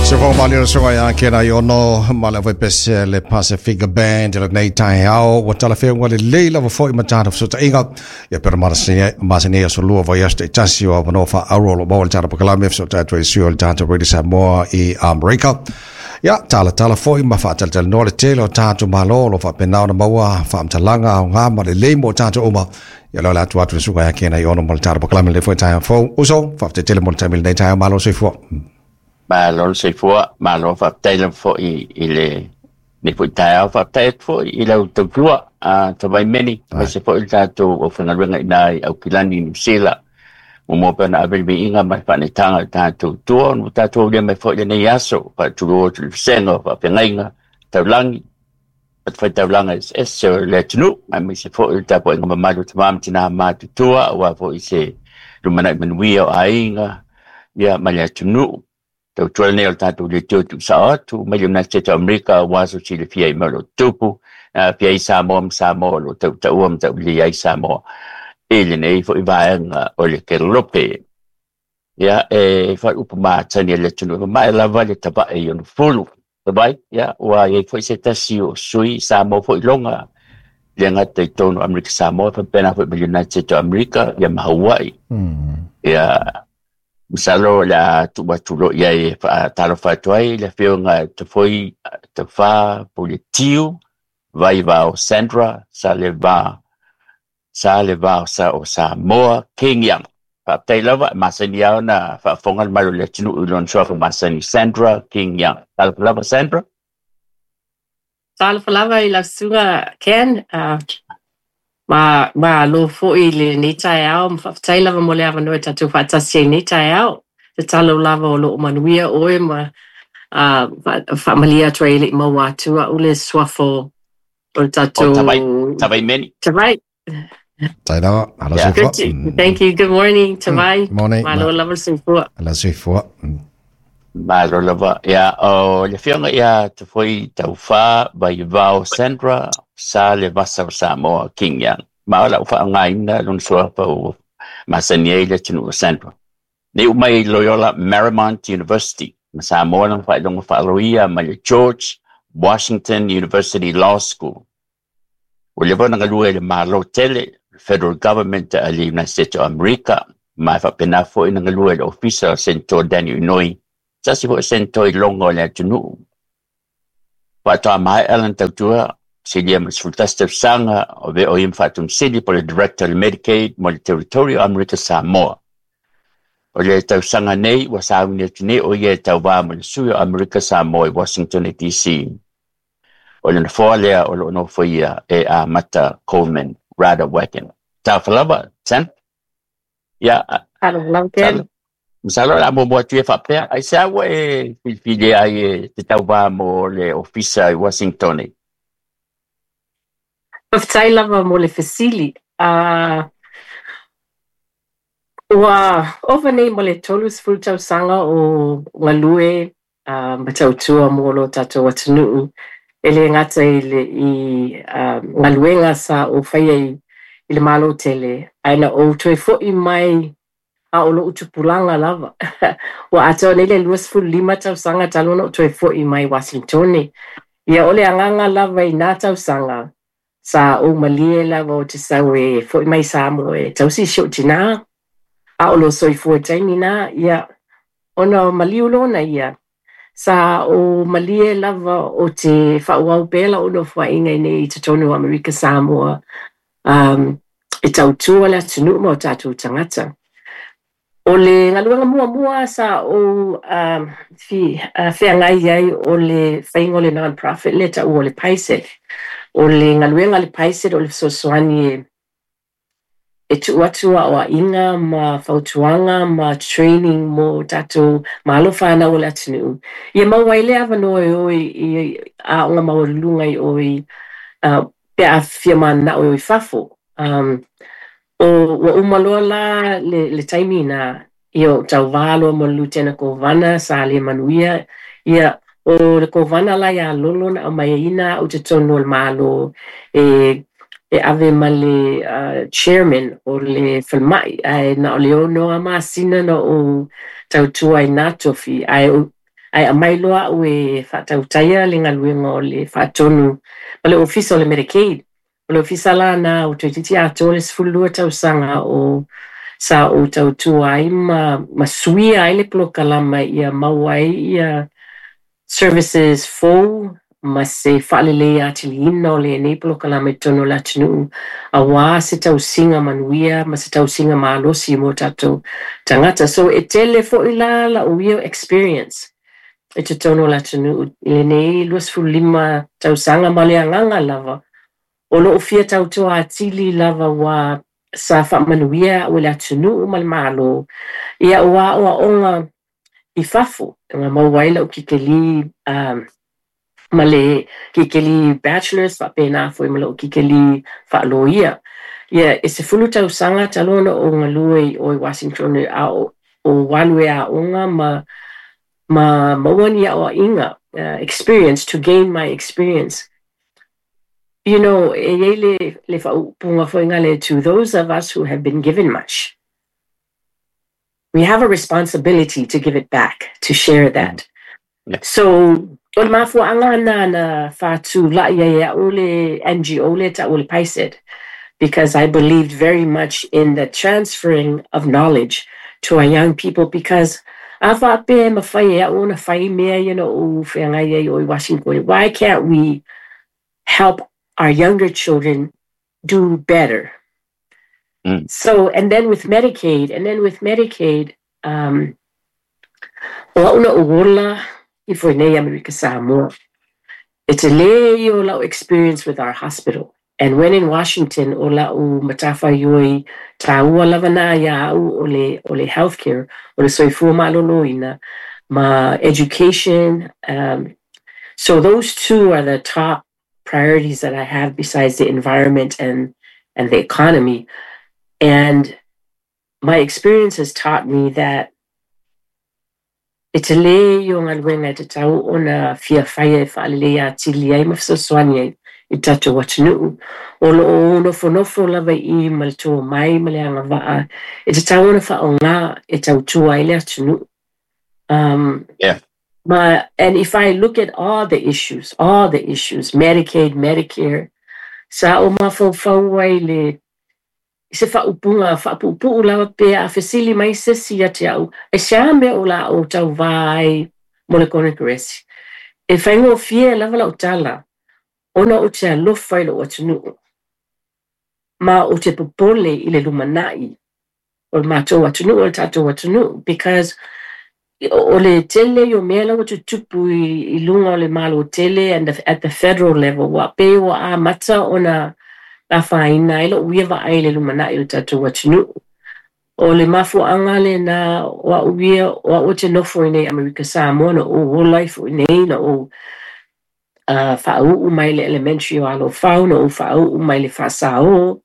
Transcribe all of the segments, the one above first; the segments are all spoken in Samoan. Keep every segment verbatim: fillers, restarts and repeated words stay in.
Se fo mali o soga ia kena i ono ma le pese le Pacific Band le nei tai ao wa tala fe wa le leila wa foi matata so ta inga ia per marasini masini so lua vai este tasi o no fa aro lo mo tala pakalame so ta tu si o tata Radio Samoa i Amerika ia tala tala foi ma fa tala tala no le tele o tatu malo lo fa penao na maua fa mtalanga o ngā ma le leimo tatu uma ia lo la atu atu suka ia kena i ono mo le tala pakalame le foi tai fo uso fa te tele mo le tamil nei tai malo se fo. Malo se fua, malo faafetai lava fo'i i le le fo'i taeao, faafetai atu fo'i i lau tautua a Tavaimeni, aemaise fo'i le tatou aufaigaluega iina i Aukilani Niu Sila. Muamua pea ona ave le viiga ma le faaneetaga i le tatou tua ona ua tatou aulia mai fo'i lenei aso, faatulua atu i le vasega o faafeagaiga taulagi, fatafaitaulaga eseese o le atunuu, aemaise fo'i le tapuaiga mamalu o tamā ma tinā matutua, aua fo'i se lumanai manuia o aiga ia ma le atunuu. Tautua lenei o le tatou leitio tuusao atu mai le United States of America aua so silafia i mea o lo o tupu, aafia ai Samoa ma Samoa o lo o tautaua ma taulelei ai Samoa i lenei fo'i vaega o le kelope. Ia, e faaupu matani a le atunuu e mamae lava le tavae i ona fulu. Vai, ia, ua iai fo'i se tasi o sui Samoa fo'i loga le gata i totonu o Amerika Samoa faapena fo'i ma le United States of America ia ma Hawaii. Ia, masalo o le a tuu atu loa i ai e faatalofa atu ai le afioga Tafoi Tafā Puletiu Vaivao Sandra Saleva Salevao sa o Samoa King Young. Faafetai lava, e masani lava ona faafofoga le mamalu o le atunuu i lona suafa masani Sandra King Young. Talofa lava Sandra. Talofa lava i lau susuga Ken. Uh, ma malo fo'i i lenei taeao, ma faafetai lava mo le avanoa e tatou faatasi ai i lenei taeao. Tatalo lava o loo manuia oe ma uh, faamalie atu ai e le i maua atu a'u le suafa o le tatou O Tavai, Tavaimeni. Tavai. Tai lava, ala Yeah. soifua. Good to, thank you. Good morning, Tavai. Morning. Malo lava le soifua. Ala soifua. Malo lava. Ia, o le afioga ia Tafoi Taufā Vaivao Sandra Sa le Vasa o Samoa King Young. Ma o lau faaaogaina lona suafa ua masani ai le atunuu o Sandra. Nei uma i Loyola Marymount University ma Samoa lona faailoga faaloia mai le George Washington University Law School. Ua leva ona galue i le Malo tele, Federal Government a le United States o Amerika, ma e faapena fo'i na galue i le Ofisa o Senator Daniel Inouye, tasi fo'i o Senator i loga o le atunuu. Faatoa maea lana tautua, silia ma le sefulutasi tausaga o avea o ia ma faatomusili po o le Director o le Medicaid mo le Territory o Amerika Samoa. O le tausaga nei ua sauni atu nei o ia e tauvā mo le sui o Amerika Samoa i Washington D C. O le nofoa lea o loo nofoia e Amata Coleman Radewagen. Talofa lava, Sam. Ia, Talofa lava Ken. Masalo o le a muamua atu ia faapea, aisea ua e filifilia ai e te tauvā mo le ofisa i Washington e? Faafetai lava mo le fesili. Uh, ua ova nei mo le tolu sefulu tausaga o galue uh, ma tautua mo lo tatou atunuu e le gata i le i uh, galuega sa o faia i, i le Malo tele, ae na ou toe fo'i mai a o lou tupulaga lava. Ua atoa nei le luasefulu lima tausaga talu ona ou toe fo'i mai Washingtone. Ia o le agaga lava i nā tausaga sa ou malie lava o te sau e fo'i mai Samoa e tausi si ou tinā, a o lo soifua taimi nā, ia ona o maliu lona ia. Sa o malie lava o te faaauau pea lau nofoaiga i nei i totonu o Amerika Samoa, um, e tautua le atunuu ma o tatou tagata. O le galuega muamua sa ou um, fi, uh, feagai ai o le faiga o le non-profit le taua o le PAISED. O le galuega a le PAISED o le fesoasoani e e tuu atu aoaiga ma fautuaga ma training mo tatou malo whanau o le atunuu. Ia maua ai le avanoa e o i aoga maualuluga i o i uh, pe a fia mananao e o i fafo. Um, o ua uma loa la le, le taimi na ia o tauvā loa mo le Lutena Kovana sa le manuia ia o le Kovana la ia lolo na aumai ai ina au totonu o le Malo e e ave ma le uh, chairman o le falemai ae na o le ono a masina na o tautua ai nā tofi ae o Ae aumai loa a'u e faatautaia le galuega o le faatonu ma le ofisa o le Medicaid. O le ofisa lana ua toeitiiti atoa le sefululua tausaga o sa ou tautua ai ma ma suia ai le polokalama ia maua ai ia services fou ma se faaleleia atiliina o lenei polokalama i totonu o le atunuu auā se tausiga manuia ma se tausiga malosi mo tatou tagata. So e tele foi la la'u ia experience i totonu o le atunuu i lenei luasefululima tausaga ma le agaga lava o lo'u fia tautua atili lava ua sa faamanuia a'u e le atunuu ma le Malo ia ua aoaoga i fafo na maua ai la'u kikeli um, ma le kikeli bachelors faapena foi ma la'u kikeli faaloia. Ia e sefulu tausaga talu ona ou galue i o i Washington a o o alu e aoga ma ma maua ni aoaiga uh, experience to gain my experience. You know, e iai le le faaupuga foi gale to those of us who have been given much. We have a responsibility to give it back, to share that. Yeah. So, o le mafuaaga na na faatula'i ai a'u le N G O le ta'u le PAISED, because I believed very much in the transferring of knowledge to our young people because a faapea e mafai e a'u ona fai mea ia na ou feagai ai o i Washington, why can't we help our younger children do better? Mm. So, and then with Medicaid, and then with Medicaid, um, o a'u na ou ola ifo i nei Amerika Samoa. E telē ia o la'u experience with our hospital. And when in Washington, o la'u matafaioi tāua lava na ia a'u o le, o le healthcare, o le soifua malōlōina, ma education. Um, so those two are the top priorities that I have besides the environment and, and the economy. And my experience has taught me that e telē ia o galuega e tatau ona fiafaia e faaleleia atili ai ma fesoasoani ai i tatou atunuu. O loo nofonofo lava i ma le tomai ma le agavaa e tatau ona faaogā e tautua ai le atunuu. Um, Yeah. ma, and if I look at all the issues, all the issues, Medicaid, Medicare, sa o mafaufau ai le i se faaupuga faapuupuu lava pe a fesili mai se isi ia te a'u e se a mea o la o tauvā ai mo le konekaresi. E faigofie lava la'u tala ona ou te alofa i lo'u atunuu ma ou te popole i le lumana'i o le matou atunuu o le tatou atunuu because o le tele o mea la ua tutupu i, i luga o le malo tele and the, at the federal level ua pei ua amata ona afaina ai lo'u ia vaai i le lumana'i o le tatou atunuu. O le mafuaaga lena o a'u ia o a'u te nofo i nei Amerika Samoa na ou ola ifo i nei na ou uh, faauu mai le elementary o Alofau na ou faauu mai le faasao.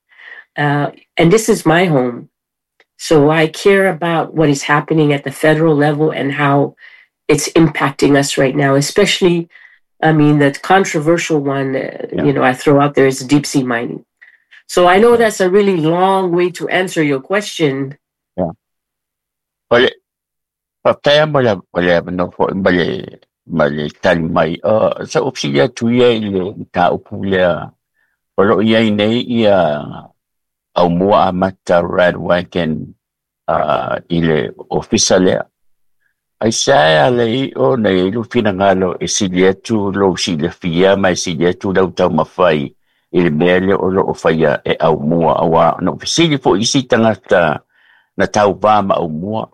Uh, and this is my home. So I care about what is happening at the federal level and how it's impacting us right now, especially, I mean, the controversial one, uh, Yeah. you know, I throw out there is deep sea mining. So I know that's a really long way to answer your question. O le faafetai mo le o le avanoa foi ma le ma le tali mai. Uh, sa ou fesili atu ia i le mataupu lea o loo iai nei ia Aumua Amata Radwagon uh, i le ofisa lea. Ai sa a le i o na i lu finagalo e sili atu lou silafia ma e sili atu lau taumafai i le mea lea o loo faia e Aumua auā na ou fesili foi isi tagata na tauvā ma Aumua.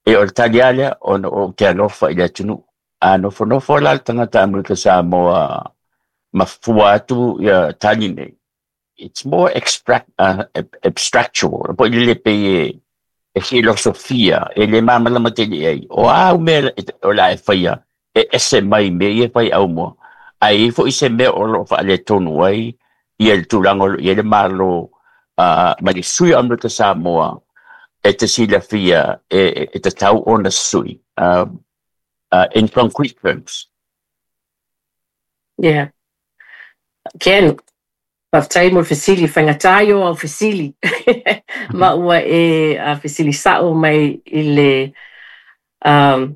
E o le tali a lea ona ou te alofa i le atunuu. A nofonofo la le tagata Amerika Samoa ma fua atu ia tali nei. It's more extract, uh, abstractual. Po i le pe e, e filosofia, e le mamalama tele ai. O au mea o la e whaia, e ese mai me ia whai au mua. Ai fo i se mea o lo wha le tonu ai, ia le tūranga, ia le malo, uh, ma le sui Amerika Samoa, e te silafia, e, e, e te tau ona sui, uh, uh, in concrete terms. Yeah. Ken, faafetai mo le fesili faigatā ia o au fesili. Ma ua e a fesili sa'o mai i le um,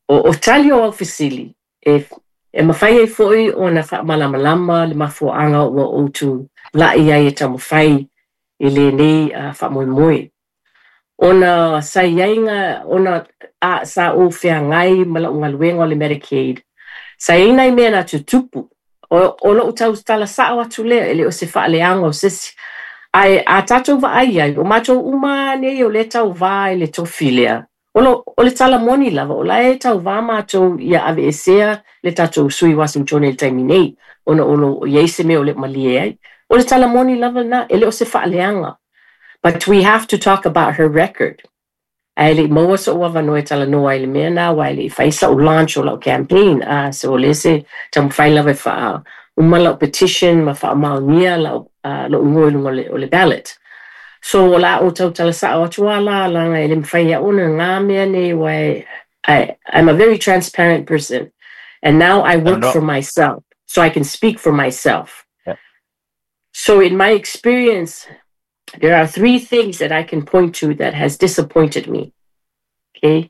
O, o tali o au fesili, e, e mafai ai fo'i ona faamalamalama le mafuaaga ua ou tula'i ai e taumafai i lenei uh, faamoemoe. Ona sa iai ga ona a, sa ou feagai ma la'u galuega o le Medicaid. Sa iai nai mea na tutupu. O, o lo'u tautala sa'o atu lea e le o se faaleaga o sesi. Ae a tatou vaai ai, o matou uma nei o le tauvā i le tofi lea. O, lo, o le tala moni lava, o la e tauvā matou ia aveesea le tatou sui Washington i le taimi nei, ona o lo o iai se mea o le malie ai. O le tala moni lava na, e le o se faaleaga. But we have to talk about her record. Ae le i maua so'u avanoa e talanoa ai le mea na ua e le i fai sa'u launch o la'u campaign. Uh, so o le se taumafai lava e faa uma la'u petition ma faamaonia la'u uh, lo'u igoa i luga o le, o le ballot. So o la o tautala sa'o atu a la laga e le mafai ai ona gā mea nei ua e I, I'm a very transparent person. And now I work no. for myself, so I can speak for myself. Yeah. So in my experience, there are three things that I can point to that has disappointed me, okay,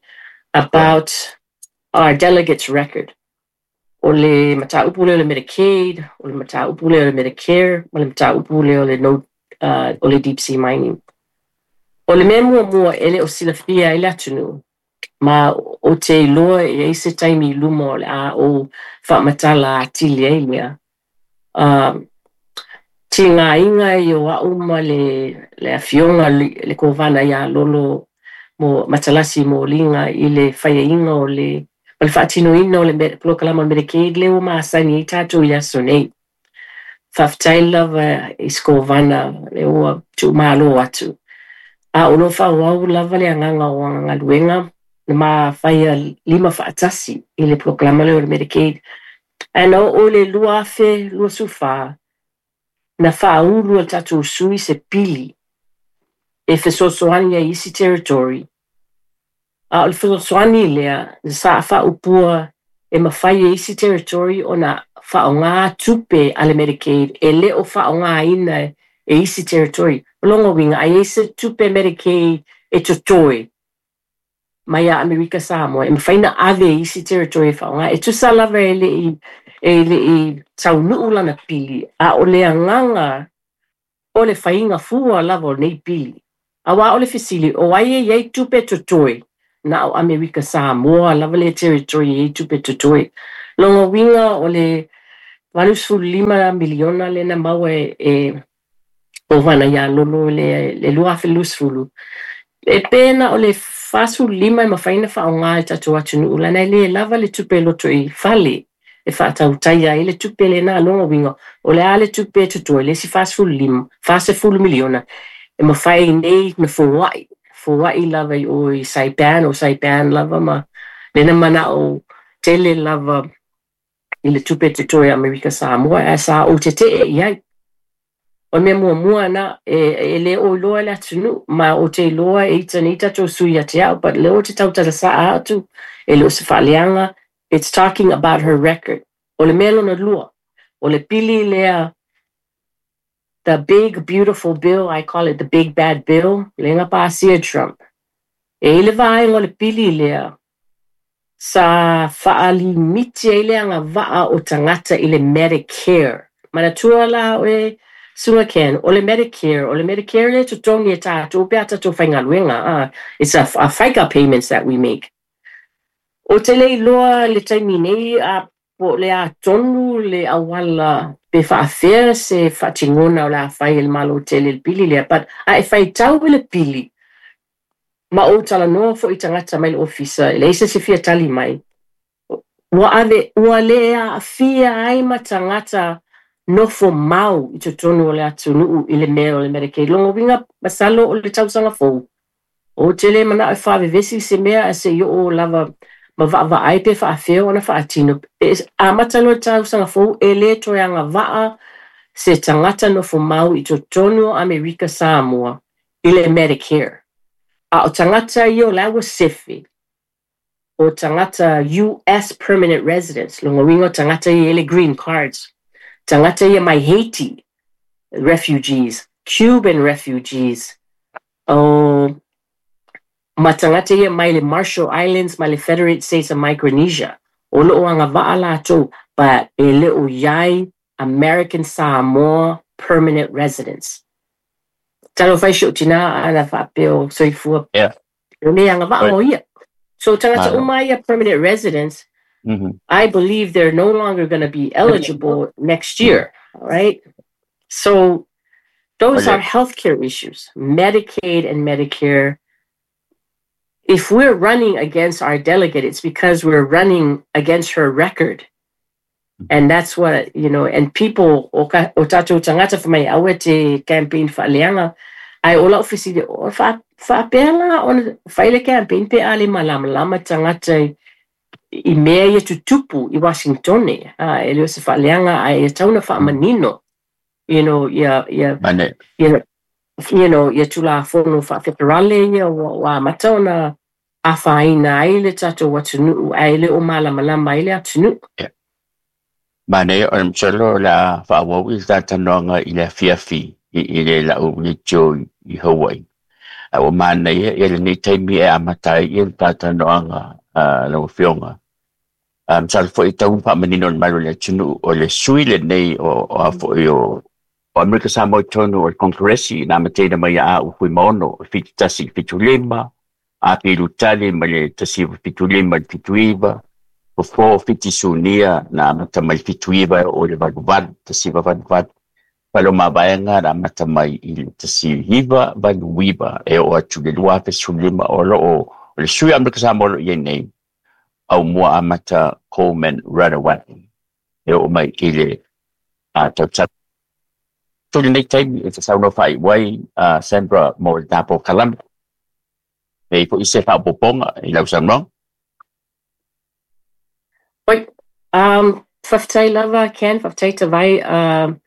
about our delegates' record. O le mataupu lea o le Medicaid, o le mataupu lea o le Medicare, o le mataupu lea o le, no, uh, o le deep sea mining. O le mea muamua e le o silafia ai le atunuu, ma o te iloa e ai se taimi i luma o le a o faamatala atili ai lea. Um, tigaiga i o a'u ma le, le afioga le, le kovana iā Lolo mo Matalasi Moliga i le faiaiga o le ma le faatinoina o le me- polokalama o le Medicaid lea ua masani ai tatou i aso nei. Faafetai lava i se kovana le ua tuumālō atu. A o lo faaauau lava le agaga o ana galuega na mafaia lima faatasi i le polokalama lea o le Medicaid. Ae na oo i le lua afe luasefulufā na faaulu e le tatou sui se pili e fesoasoani ai isi territory. A o le fesoasoani lea sa faaupua e mafai e isi territory ona faaaogā tupe a le Medicaid e le o faaaogāina e isi territory. O lona uiga a i ai se tupe Medicaid e totoe mai ia Amerika Samoa e mafai na ave e isi territory e faaaogā. E tusa lava e le i e le i taunuu lana pili, a o le agaga o le faiga fua lava o nei pili. Auā o le fesili, o ai e iai tupe totoe na o Amerika Samoa lava le territory e iai tupe totoe. Lona uiga o le valusefululima miliona lea na maua e, e kovana iā Lolo le, le lua afe luasefulu. E pe na o le fasefululima e mafai ona faaaogā e tatou atunuu lana e lē lava le tupe loto i fale e faatautaia ai le tupe lenā lona uiga o le a le tupe e totoe le isi fasefululima fasefulu miliona e mafai nei na foa'i foa'i lava i o i Saipan o Saipan lava ma lena mana'o tele lava i le tupe totoe Amerika Samoa ae sa ou tete'e i ai. O le mea muamua na e, e lē o iloa le atunuu ma o te iloa e ita nei tatou sui ia te a'u but lea o te tautala sa'a atu e le o se faaleaga. It's talking about her record. O le mea lona lua, o le pili lea the big beautiful bill, I call it the big bad bill, lea na pasia Trump. E i le vaega o le pili lea, sa faalimiti ai le agavaa o tagata i le Medicare. Manatua la oe, Suga Ken, o le Medicare, o le Medicare le totogi e tatou pe a tatou faigaluega. Ah, it's a, a FICA payments that we make. O te le iloa le taimi nei a po o le a tonu le auala pe faafea se faatigona o le a fai e le Malo tele le pili lea, but a e faitau i le pili, ma ou talanoa fo'i i tagata mai le ofisa, e leai se isi e fia tali mai, ua ave, ua le aafia ai ma tagata nofo mau i totonu o le atunuu i le mea o le Medicaid. Lona uiga masalo o le tausaga fou, ou te le mana'o e faavevesi se mea ae se'i oo lava ma vaavaai pe faafea ona faatino. E amata loa le tausaga fou e lē toe agavaa se tagata nofo mau i totonu o Amerika Samoa i le Medicare. A o tagata ia o la ua sefe, o tagata U S permanent residents, lona uiga o tagata ia e le green cards, tagata ia mai Haiti refugees, Cuban refugees, o Ma tagata ia mai le Marshall Islands ma le Federated States of Micronesia. O lo'o agava'a latou, but e le o iai American Samoa permanent residents. Talofa e si o'u tinā ana faapea o soifua Yeah. e lē agava'a Right. o ia. So tagata Malo. uma ia permanent residents, Mhm. I believe they're no longer going to be eligible next year, all right? So those Okay. are healthcare issues, Medicaid and Medicare. If we're running against our delegate, it's because we're running against her record. And that's what, you know, and people, o, ka, o tātou tagata fa mai aua e te campaign faaleaga, ae o la'u fesili, o fa, faapea la ona fai le campaign pe a le malamalama tagata i, i mea ia tutupu i Washingtone. A, e le o se faaleaga, ae e tatau ona faamanino, you know, ia, ia, Mane. ia, you know, ia tulafono faafeterale ia ua, ua amata ona afaina ai le tatou atunuu ae le o malamalama ai le atunuu. Yeah. Mane o le masalo o le a faaauau i le talanoaga i le afiafi i, i le lau leitio i Hawaii. A ua manaia ia lenei taimi e amata ai ia le talanoaga uh, lau afioga. Um, masalo foi tau faamanino le malo le atunuu o le sui lenei o, o a foi o o Amerika Samoa i totonu o le Konkeresi na amataina mai ia a'u Fuimaono fitu tasi i fitu lima, Apilu tali mai le tasi iva fitu lima i le fitu iva, fofo Fiti Sunia na amata mai le fitu iva e oo i le valu valu, tasi iva valu valu. Fale o Mavaega na amata mai i le tasi iva valu iva e oo atu i le lua afe sefulu lima o loo o le sui Amerika Samoa o loo i ai nei Aumua Amata Coleman Radewagen e oo mai i le uh, tausaga tu lenei taimi e te saunoa faaiu ai uh, Sandra mo le polokalame e i foi se faaopoopoga i lau saunoaga. Oi, um, faafetai lava Ken, faafetai Tavai. Um,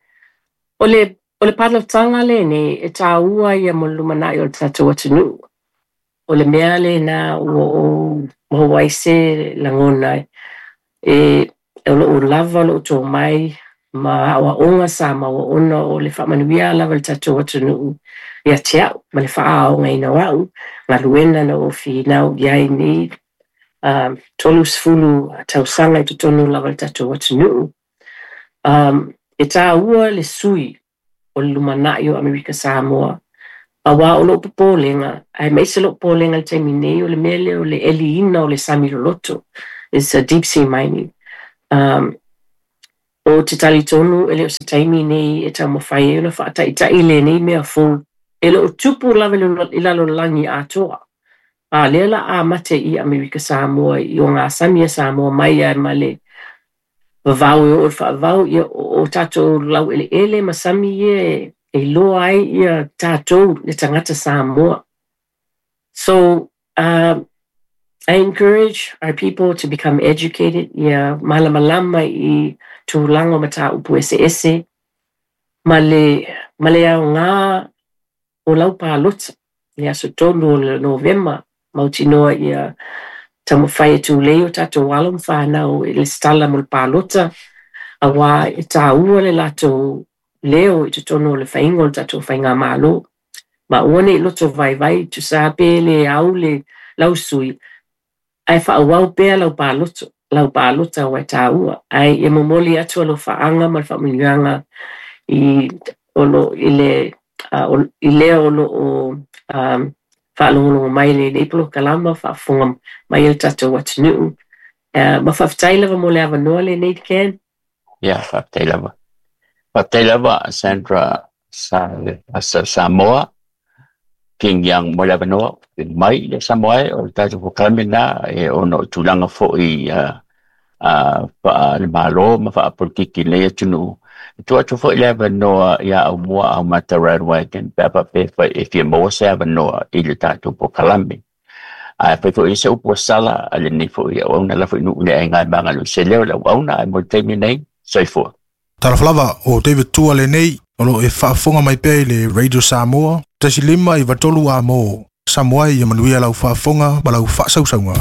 o le, o le palotaga lenei e tāua ia mo le lumana'i o le tatou atunuu. O le mea lenā ua ou maua ai se lagona e o loo lava loo tomai ma aʻoaʻoga sa maua ona o le faamanuia lava le tatou atunuu ia te a'u ma le faaaogaina o a'u galuega na ou finau i ai nei um, tolu sefulu tausaga i totonu lava le tatou atunuu. Um, e tāua le sui o le lumana'i o Amerika Samoa. Auā o lo'u popolega, aemaise lo'u popolega i le taimi nei o le mea lea o le ʻeliina o le sami loloto. It's a deep sea mining. Um, o te talitonu e le o se taimi nei e taumafai ai ona faataʻitaʻi lenei mea fou. E le o tupu lava i lalolagi atoa. A lea la amata i Amerika Samoa i o gasami a Samoa mai ai ma le vavao e oo i le faavavau ia o, o tatou laueleele ma sami ia e, e iloa ai ia tatou le tagata Samoa. So, um, I encourage our people to become educated, ia malamalama i tulaga o mataupu eseese, ma le, ma le aogā o lau palota, le aso tolu o le Novema, mautinoa ia taumafai e tulei o tatou alo ma fanau e lesitala mo le palota, auā e tāua le latou leo i totonu o le faiga o le tatou faigamālō. Ma aua nei loto vaivai, tusa pe le au le lau sui, ae faaauau pea lau paloto, lau palota auā e tāua. Ae ia momoli atu alofaaga ma le faamanuiaga i o lo i le uh, o, i lea o loo um, faalogologo mai lenei polokalama faafofoga mai e le tatou atunuu. Uh, ma faafetai lava mo le avanoa lenei Ken. Ia, faafetai lava. Faafetai lava Sandra sa, sa Samoa King Young mo le avanoa mai le Samoa e o le tatou polokalame na e ona o tulaga foi uh, uh, faa le malo ma faapolitiki nei atunuu. E tuu atu foi le avanoa ia Aumua Aumata Radewagen pe a faapea fai e fia maua se avanoa i le tatou polokalame. Ae fai foi se upu ua sala a lenei foi auauna la foi nuu le aiga e magaloi se leo le auauna ae mo le taimi nei, soifua. Talofa lava o David Tua lenei o lo e faafofoga mai pea i le Radio Samoa tasi lima iva tolu a mo Samoa ia manuia lau faafofoga ma lau faasausauga.